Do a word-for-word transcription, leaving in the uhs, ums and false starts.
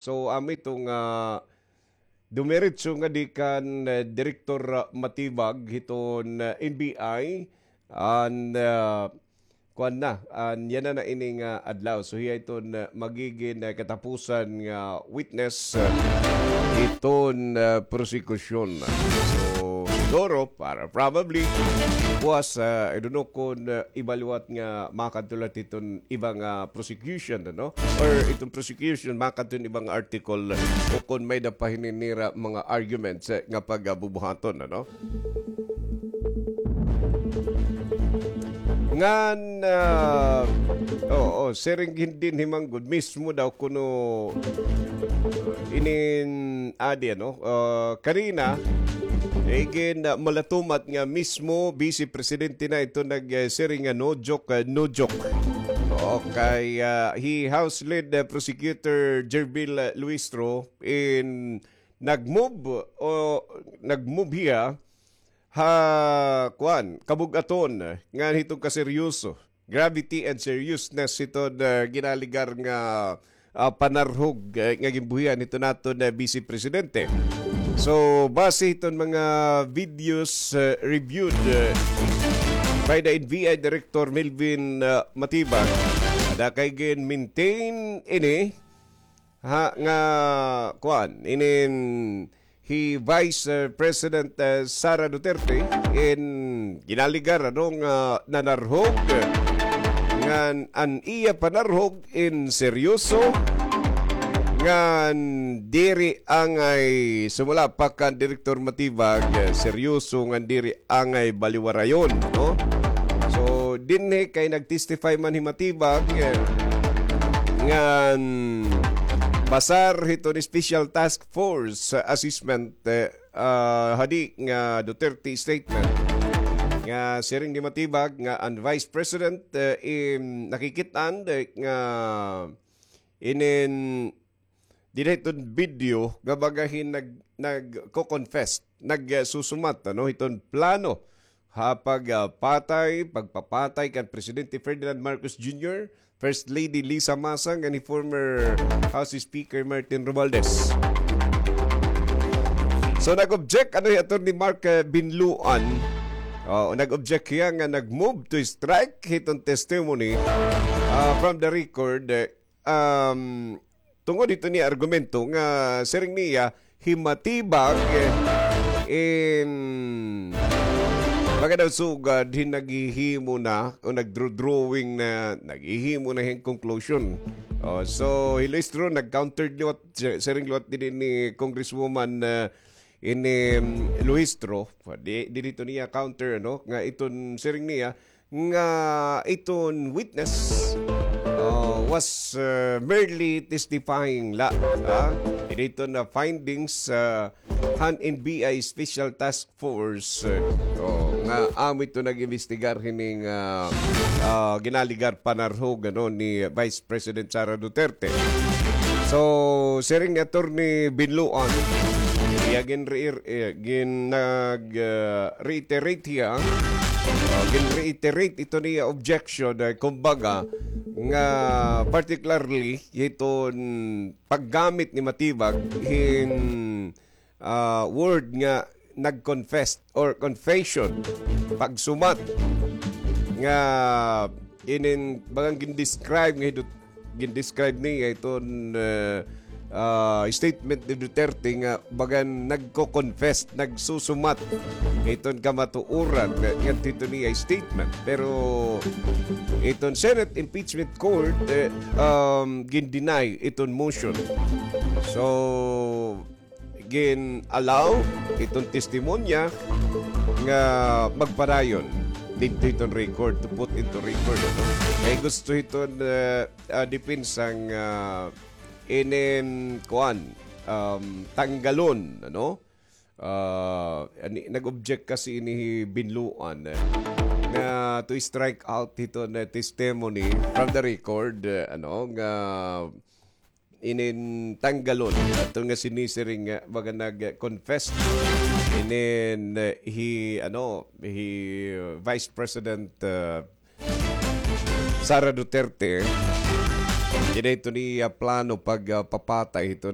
So, amo ito nga dumiretso ngadi kan, eh, Direktor, ah, Matibag hiton, ah, N B I, an, ah, kuan na, an yana na ini nga adlaw. So, hiya iton, ah, magigin, ah, katapusan nga witness, ah, hiton, ah, prosekusyon. So, siguro, para probably, buwas, ah, I don't know kung, ah, iba liwat nga makadto la hiton iba nga prosecution, ano? Or iton prosecution, makadto hin iba nga article, o kung may-ada pa hinin nira mga arguments, eh, nga pagabubuhaton, ano? Ngan, ah, oo, siring gin dinhi man gud mismo daw kuno inin adi, ano, ah, kanina, igin, ah, malatumat nga mismo Vice Presidente na ito nag, eh, siring nga no joke, ah, no joke. Okay, ah, hi House Lead, ah, Prosecutor Gerville, ah, Luistro in nag-move o nag-move hiya ha, kuan, kabug-aton ngan hiton kaseryoso, gravity and seriousness hiton, ah, ginaligar nga, ah, panarhog, eh, nga ginbuhian hiton aton, ah, Vice Presidente. So, base hiton mga videos, ah, reviewed, ah, by the N B I Director Melvin, ah, Matibag, ada kay gin-maintain ini ha, nga, kuan, inin hi Vice, eh, President, eh, Sara Duterte in ginaligar, ano, nga nanarhog, eh, ngan an iya panarhog in seryoso, ngan diri angay sumala pa kan Direktor Matibag, eh, seryoso ngan diri angay baliwarayon, no? So, dinhi kay nag-testify man hi Matibag, eh, ngan basar hiton Special Task Force, ah, assessment, eh, ah, hadi nga Duterte statement nga siring ni Matibag nga an Vice President, eh, im-, nakikit-an, eh, nga inin diri hiton video nga baga hin nag-, nagko-confess, nag, eh, susumat, ano, hiton plano ha pag, ah, patay, pagpapatay kan Presidente Ferdinand Marcos Junior, First Lady Lisa Masa, ngan ni former House Speaker Martin Romualdez. So, nag-object, ano, hi Attorney Mark, eh, Binluan. Oh, nag-object hiya nga nag-move to strike hiton testimony, ah, from the record, eh, um, tungod hiton iya argumento nga siring niya, hi Matibag, eh, in, baga daw sugad hin naghihimo na o nagdro-drawing na, naghihimo na hin conclusion. Oh, so, hi Luistro nag-counter liwat, si-, siring liwat dinhi ni Congresswoman, eh, ini, um, Luistro, di, dinhi to niya counter, ano, nga iton siring niya, nga iton witness, uh, was, uh, merely testifying la, ha? Diri iton, uh, findings, uh, han N B I Special Task Force, uh, oh, nga amo iton nag-imbestigar hining, uh, uh, ginaligar panarhog, ano, ni Vice President Sara Duterte. So, siring ni Attorney Binluan, iya gin-, eh, gin-, nag, uh, reiterate hiya, uh, gin-reiterate iton iya objection, uh, kumbaga, nga particularly hiton paggamit ni Matibag hin, uh, word nga nag-confess or confession, pagsumat nga inin bagang gin-describe nga hi Dut-, gin-describe niya iton, eh, ah, statement ni Duterte nga bagan nagko-confess, nagsusumat iton kamatuoran nga, nga dito niya statement. Pero iton Senate Impeachment Court, eh, um, gin-deny iton motion. So, gin-allow iton testimonya nga magpadayon didto iton record, to put into record, ano? Kay gusto hiton, ah, ah, depensa nga inin, kuan, um, tanggalon, ano? Ah, ani, nag-object kasi ini hi Binluan, eh, nga to strike out hiton, eh, testimony from the record, eh, ano, nga inin tanggalon ato nga sinisiring nga baga nag-confess inin, eh, hi, ano, hi Vice President, uh, Sara Duterte. Dida ito ni, ah, plano pag, ah, papatay ito